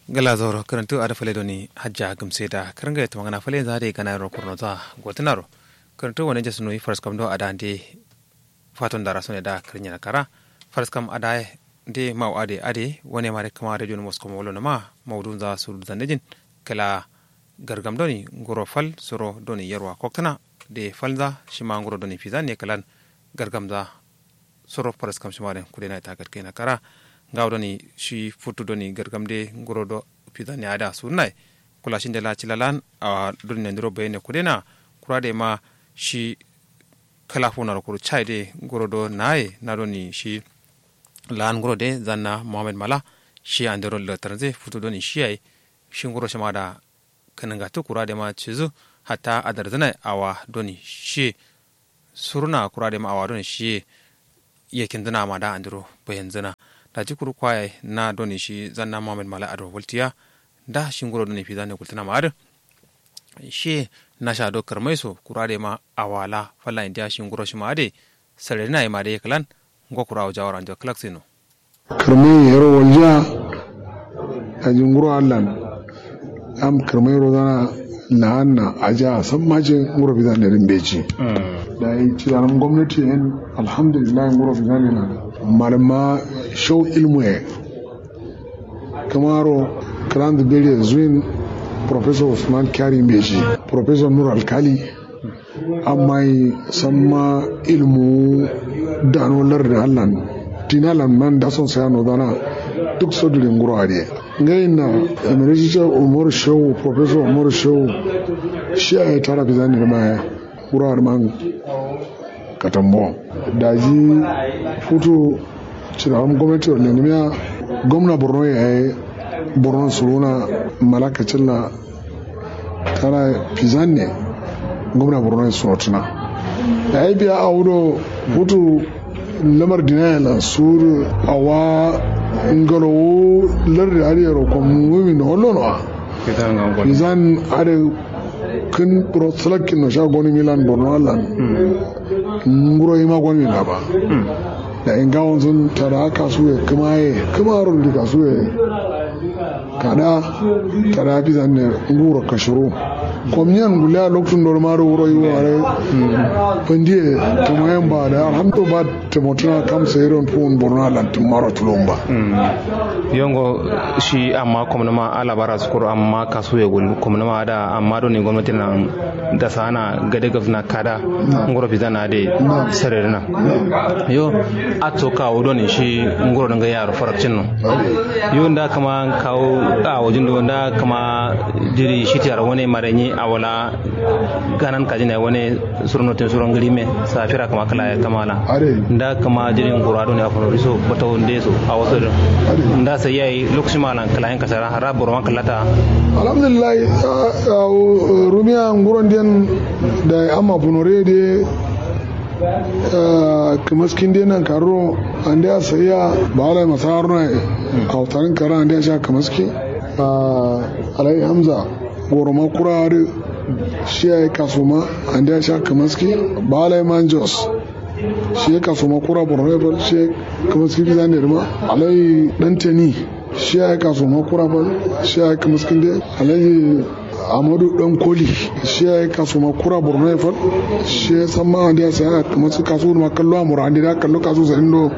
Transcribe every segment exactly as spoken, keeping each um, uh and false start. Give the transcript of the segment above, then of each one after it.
Gla zauro kǝrǝntǝ adǝ fale doni hajja gǝmse da kǝrǝngaye tǝmangana fale nza adǝ ye gana yero kurno za gotǝnaro. Kǝrǝntǝ wane jasǝ nuyi faraskam do adǝ ande faton dara sone da kǝrǝnyena kara. Faraskam adǝ ye nde mawu adǝ ye adǝ ye wane mare kǝma radio nǝ moskoma wolo nǝma maudu nza surudu zandejin. Kǝla gargam doni nguro fal suro doni yerwa koktǝna de fal nza shima nguro doni fizan ne kǝlan gargam nza. Soro faraskam shima dǝn kudena ita gatkaina kara. Ngawo doni shi futu doni gargam de nguro do fizan ne ada sunai. Kula shinde la cila lan awa doni nandiro bayane kudena. Kura de ma shi kala funa ro kuru chai de nguro do naye na doni shi lan nguro de zanna muhammad mala. Shi andero latarnze futu doni shi yayi. Shi nguro shima da kǝnǝngatǝ kura de ma cizu hatta adarzǝnai awa doni shi. Suruna kura de ma awa doni shiye. Yakin zǝna ma da andiro bayan zǝna. Daji kuru kwaye na doni shi zanna muhammad mala ado waltiya. Da shi nguro doni fizan ne gultǝna ma adǝ. Shiye nasha do kǝrmai so kura de ma awa la falla indiya shi nguro shima adǝ. Sararina ye ma de kǝlan ngo kura awo jawara njo kǝlak sino. Kǝrmai yero waljiya. Daji nguro allan am kǝrmai rozana la'anna aja samma ce nguro fizan ne dǝn beji. Dayi cidaram gomnati yen alhamdulillahi nguro fizan ne na malama shau ilmu ye. Kǝmaro kǝlanzǝ bere zuwin professor usman kyari beji professor nur alkali. Amma ye samma ilmu dano lardǝ allan dina lan man dason saya nozana. Duk so duri nguro adǝ ye ngai na emeritical umaru shehu professor umaru shehu. Shi yayi tara fizan ne dǝma ye nguro adǝ man katambo. Daji futu cidaram gomnati ro lenimiya gomna borno yayi borno suruna malaka cilla. Tara fizan ne gomna borno ye surotuna. Dayi biya awo do futu lamar dina ye lan suru awa ngalowo lardǝ adǝ yero komumin no wallono wa. Fizan adǝ kǝn buro sǝlakkin no sha goni milan borno allan. Nguro yima goni min laba. Dayi ngawon zǝn tada kasuwe kǝma ye kǝmaro duri kasuwe. Kada tada fizan ne nguro kashiro. Komniyan guliya loktu ndormaro wuro yiwo are. Fandiye tamayen ba da alhamdu ba. Tǝmotǝna kam sairon fuwun borno alan tǝmmaro tulon ba. Yongo shi amma komnuma ala bara sukuru amma kasuye gul komnuma ada amma doni gomnati nan dasana gade gabsǝna kada. Nguro fizana de sarerina. Yo atto kawo doni shi nguro dǝnga yaro farakcin no. Yo nda kǝma kawo awo jindo nda kǝma jiri shitiyar wane marenyi awola ganan kajin yayi wane. Suro notin suro ngǝrime safira kǝma kǝla yayi tamala. Nda kǝma jirin ngura doni afono riso batawo ndeso awo so dǝn. Nda sai yayi lokacin malan kǝla yin kasara ra boro man kǝllata. Alhamdulillahi. Rumiya nguron den da amma bunore de. Kǝmaskin de nan karro ande a saiya ba alai masarno yayi. Awo tarin kara ande a sha kǝmaski. Alai hamza. Goro ma kura adǝ. Shi yayi kasuma ande a sha kǝmaski. Ba alai man jos. Shi yayi kasuma kura borno ye fal shi yayi kǝmaski fizan ne dǝma. Alai dantani. Shi yayi kasuma kura fal. Shi yayi kǝmaskinde. Alai amadu dankoli. Shi yayi kasuma kura borno ye fal. Shi yayi samma ande a saya kǝmaski kasu dǝma kallo amura ande da kallo kasu sarindo.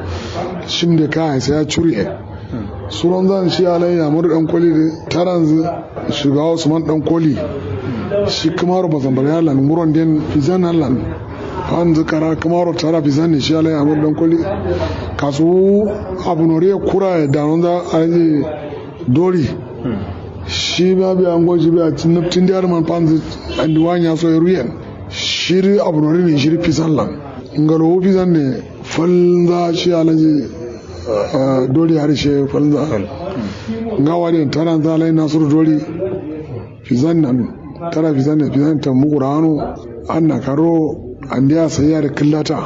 Shim de ka yayi saya curi ye. Suronzan shi alai amadu dankoli dǝ taranzǝ. Shugawa usman dankoli. Shi kǝmaro bazambare allan nguron den fizan allan. Fanzǝ kara kǝmaro tara fizan ne shi alai amadu dankoli. Kasuwu abunoriye kura ye danonza alai dori. Shi ma biya ngo shi biya nabtin diya dǝman fanzǝ. Andi wanya so ye ruyen. Shiri abunori ne shiri fizan lan. Ngalowu fizan ne. Falnza shi alaji. Dori hari shi falnza. Ngawa den taranza lai nasuru dori. Fizan nan tara fizan ne fizan tambu kurano. Anna karo. Andiya saiya da kǝllata.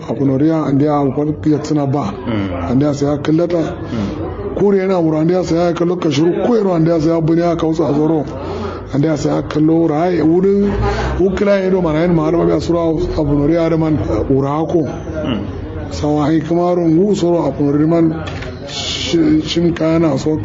Akunoriya andiya abu fal yaksǝna ba. Andiya saiya kǝllata. Kure yana wuro andiya saiya kallo kashuru kuyero andiya saiya buniya kausa zoro. Andiya saiya kallo wuro ayi wuri. Wukila yedo mana yin ma har mabiya suro. Akunoriya da man wuro ako. Sawa hai kǝmaro ngu soro akunori man. Shim kayana so